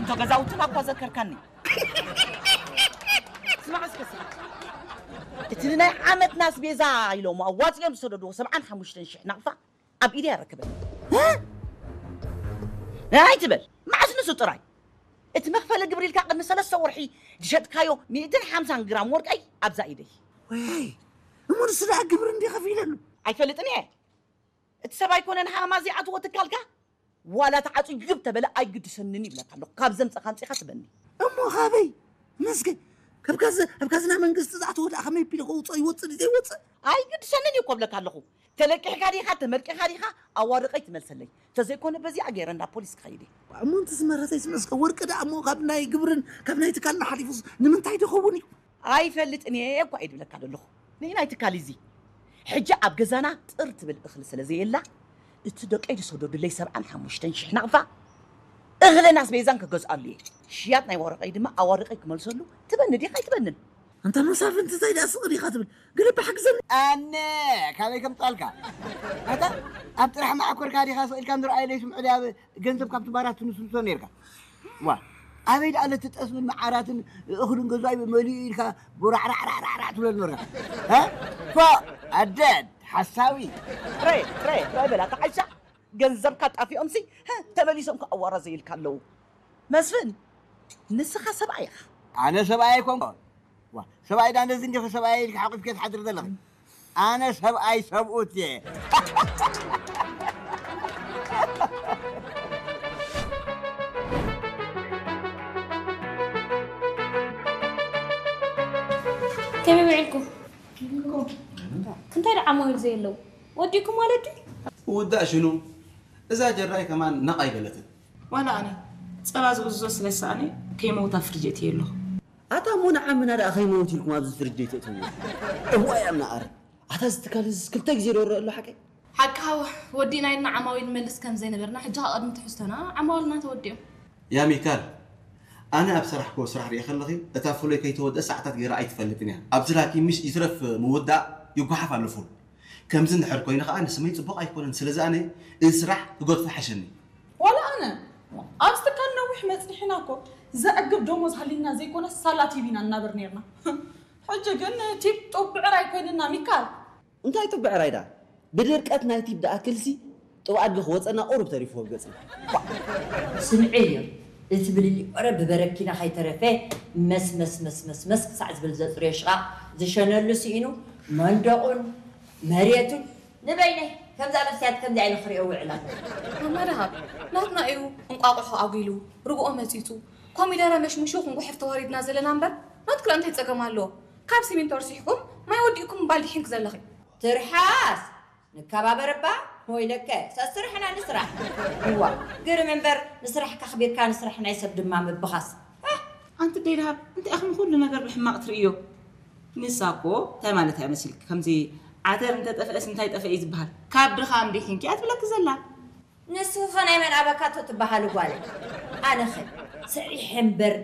እቶ ገዛውትና እኳ ዘከርካኒ። ስማዕ እስከ ስማዕ። እቲ ንናይ ዓመትና ኣስቤዛ ኢሎም ኣዋፂኦም ዝሰደድዎ ሰብዓን ሓሙሽተን ሽሕ ናቕፋ ኣብ ኢደይ ኣረክበኒ። እ? ኣይትበል። መዓስ ንሱ ጥራይ? እቲ መኽፈሊ ግብሪ ኢልካ ቅድሚ ሰለስተ ወርሒ ዝሸጥካዮ ሚእትን ሓምሳን ግራም ወርቀይ ኣብዛ ኢደይ። ወይ፣ እሞ ንሱ ደኣ ግብሪ እንዲ ከፊለሉ? ኣይፈልጥን እየ። እቲ ሰብ ኣይኮነን ሃማ ዘይኣትዎ ትካልካ? ዋላ ተዓጽዩ ተበለ ኣይግድሰንን ይብለካ ኣለኹ። ካብ ዘምጸኻ ኣምጺኻ ትበኒ። እሞ ካበይ? መስገን፣ ካብ ካዝ-፣ ካብ ካዝና መንግስቲ ዝኣተወ ደኣ ከመይ ቢሉ ከውጽኦ ይወጽእ ድዩ ዘይወጽእ? ኣይግድሰንን እዩ እኮ ብለካ ኣለኹ። ተለቂሕካ ዲኻ፣ ተመርቂኻ ዲኻ፣ ኣዋርቐይ ትመልሰለይ። ተዘይኮነ በዚኣ ገይረ እንዳ ፖሊስ ክኸይድ እየ። እሞ እንተ ዝመረተይስ መስገን፣ ወርቂ ደኣ እሞ ካብ ናይ ግብርን ካብ ናይ ትካልና ሓሊፉስ ንምንታይ ድኸውን እዩ? ኣይፈልጥን እየ እኳ እየ ድብለካ ዘለኹ። ንናይ ትካል እዚ ሕጂ ኣብ ገዛና ጥር ትብል እኽሊ ስለ ዘየላ፣ እቲ ደቀይ ዝሰደዱለይ ሰብዓን ሓሙሽተን ሽሕ ናቕፋ እኽልን ኣስቤዛን ክገዝኣሉ እየ። ሽያጥ ናይ ወረቐይ ድማ ኣዋርቐይ ክመልሰሉ ትበኒ ዲኻ ኣይትበንን? ኣንታ መሳፍንቲ እንታይ ደኣ ስቕ ዲኻ ትብል? ገለ ብሓግዘኒ። ኣነ ካበይ ከምጻልካ? ኣታ ኣብ ጥራሕ ማዕኮርካ ዲኻ ስቕ ኢልካ ንርኣየለይ ስምዑ ድያ ገንዘብ ካብቲ ባራት ትንስንሶ ነይርካ? ዋ፣ ኣበይ ደኣ ለቲ ጠስምን መዓራትን እኽልን ገዛኢ መሊኡ ኢልካ ቦራዕራዕራዕራዕ ትብለኒ ነርካ? እ? ፎእ፣ ኣደድ፣ ሓሳዊ። ትረ፣ ትረ፣ ትረ በላ፣ ተዓሻ። ገንዘብካ ጣፊኦምሲ፣ ህ፣ ተመሊሶም ከ ኣዋራ ዘይልካ ኣለዉ። መስፍን፣ ንስኻ ሰብኣይ ኢኻ። ኣነ ሰብኣይ ኣይኮንኩን። ዋ፣ ሰብኣይ ዳ ነዚ እንዲኺ ሰብኣይ ኢልካ ሓቂፍኪ ትሓድሪ ዘለኺ? ኣነ ሰብኣይ ሰብኡት እየ። ከመይ ውዒልኩም? ክንታይ ደኣ ዓማዊል ዘየለዉ? ወዲእኩም ማለት ድዩ? ውዳእ ሽኑ እዛ ጀራይ ከማን ነቕ ኣይበለትን። ዋላ ኣነ ጸባ ዝእዝዞ ስለ ዝሰኣነ ከይመውታ ፍርጅ እትየ ኣለኹ። ኣታ እሞ ንዓምና ደኣ ከይመውት ኢልኩም ኣብዚ ፍርጅ ደይተእትውዎ? እዋይ ኣምና ኣረ ኣታ እዚ ትካል እዚስ ክልተ ግዜ ዶ ረእ ኣሎ ሓቀይ? ሓቅኻ ወዲእና ኢልና ዓማዊል ንመልስ ከም ዘይነበርና ሕጂ ኸኣ ቅድሚ ትሕዝቶና ዓማዊልና ተወዲኦም። ያ ሚካል ኣነ ኣብ ስራሕ ኮ ስራሕ ሪኤ ከለኺ እታ ፍሎይ ከይተወድአ ሰዓታት ገይራ ኣይትፈልጥን እያ። ኣብዚ ስራሕኪ ምሽ ይትረፍ ምውዳእ ይጓሓፍ ኣሎ ፉል። ከምዚ እንድሕር ኮይኑ ኸኣ ንስመይ ጽቡቕ ኣይኮነን። ስለዚ ኣነ እዚ ስራሕ ክገድፎ ይሓሸኒ። ዋላ ኣነ ኣብዚ ትካል ነዊሕ መጺሕና እኮ ዘዕግብ ደሞዝ ሃልዩና ዘይኮነስ ሳላ ቲቭ ኢና ንናበር ኔርና። ሕጂ ግን ቲፕ ጡብ ብዕራይ ኮይንና ሚካል። እንታይ ጡብ ብዕራይ ደኣ ብድርቀት ናይ ቲፕ ደኣ ክልሲ ጡብ ኣድጊ ክወጸና ቁሩብ ተሪፍዎ ኣብ ገጽና። ስምዒ እዮ እቲ ብልሊ ኦረ ብበረኪና ከይተረፈ መስ መስ መስ መስ መስ ክሳዕ ዝብል ዘጽርዮ ሽቓቕ ዝሸነሉ ስኢኑ መንደቑን መሬቱን ንበይነይ ከምዛ መስትያት ከምዚኣ ኢለ ክሪኦ ውዕል ኣለኹ። ማማ ደሃብ ናትና እዩ እንቋቑሖ ኣጒሉ ርግኦ መጺጹ ኮሚደረ መሽሙሹ ክንጉሕፍ ተዋሪድና ዘለና እምበር ናትክላ እንታይ ጸገም ኣለዎ? ካብ ሲሚንቶ ርሲሕኩም ማይ ወዲእኩም ባልዲ ሒንክ ዘለኺ። ትርሓስ ንከባበር እባ ወይለከ ሰስርሕና ንስራሕ። እዋ ግርም እምበር ንስራሕ ከኽቢርካ ንስራሕ ናይ ሰብ ድማ ምብኻስ። ኣንቲ ደይ ደሃብ እንታይ ኢኽን ኩሉ ነገር ብሕማቕ ትርእዮ? ንሳ እኮ እንታይ ማለት እያ መሲልኪ ከምዚ ዓተር እንተጠፍአስ እንታይ ጠፍአ እዩ ዝበሃል ካብ ድኻም ድሒንኪ እያ ትብለኪ ዘላ። ንስኺ ኸ ናይ መን ኣበካቶ ትበሃሊ ጓለይ? ኣነኸ ሰሪሐ እምበር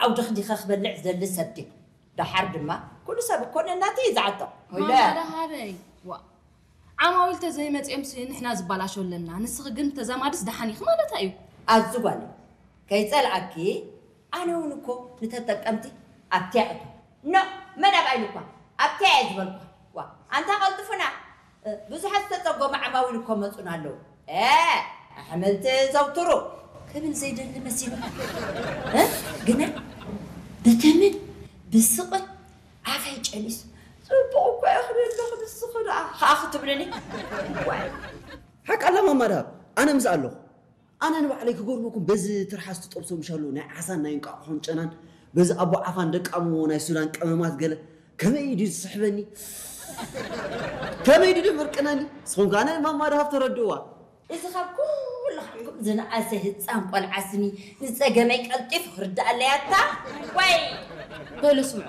ዓውዲ ኽዲኸ ክበልዕ ዝደሊ ሰብ ድየ? ደሓር ድማ ኩሉ ሰብ እኮ ነናተይ እዩ ዝዓጦ። ማማ ደሃበይ ዋ ዓማዊል ተዘይመፂኦምሲ ንሕና ዝባላሾ ኣለና ንስኺ ግን ተዛማድስ ደሓን ኢኺ ማለታ እዩ። ኣዚ ጓለይ ከይፀልኣኪ ኣነ እውን እኮ ንተጠቀምቲ ኣብትያ እቶ ኖ መን ኣብ ኣይሉኳ ኣብትያ እየ ዝበልኳ። ዋ ኣንታ ቀልጥፉና ብዙሓት ዝተፀጎሙ ዓማዊል እኮ መፁና ኣለዉ። ኣሕምልቲ ዘውትሩ ክብል ዘይደሊ መሲሉ ግና ብተመን ብስቕን ኣፈይ ጨኒሱ ፅቡቕ እኮ እየ ክብል ኣለኹ ንስኺ ደኣ ከዓ ክትብልኒ ዋይ ሓቂ ኣላ ማማ ደሃብ ኣነ ምስኣ ኣለኹ ኣነ ንባዕለይ ክገርመኩም በዚ ትርሓስ ትጠብሶ ምሻሉ ናይ ዓሳን ናይ እንቃቑሖን ጨናን በዚ ኣቦ ዓፋን ደቃሞ ናይ ሱዳን ቀመማት ገለ ከመይ ድዩ ዝስሕበኒ ከመይ ድዩ ደመርቅነኒ ንስኹም ከኣ ናይ ማማ ደሃብ ተረድእዋ እዚ ካብ ኩልኻትኩም ዝነኣሰ ህፃን ቆልዓ ስኒ ንፀገመይ ቀልጢፉ ክርድኣለይ ኣታ ዋይ። በሉ ስምዑ፣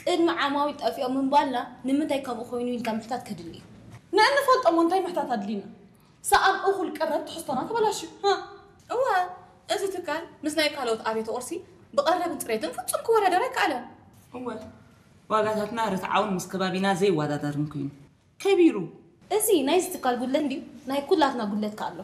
ቅድሚ ዓማዊል ጠፊኦም ምባልና ንምንታይ ከምኡ ኮይኑ ኢልካ ምሕታት ከድሊ እዩ። ንእንፈልጦ እሞ እንታይ ምሕታት ኣድልዩና? ሰኣን እኹል ቀረብ ትሕዝቶና ተበላሽዩ። እወ፣ እዚ ትካል ምስ ናይ ካልኦት ኣብያተ ቁርሲ ብቐረብን ፅሬትን ፍፁም ክወዳደር ኣይከኣለን። እወ፣ ዋጋታትና ርትዓውን ምስ ከባቢና ዘይወዳደርን ኮይኑ። ከቢሩ። እዚ ናይዚ ትካል ጉድለት እንድዩ ናይ ኩላትና ጉድለት ከ ኣሎ።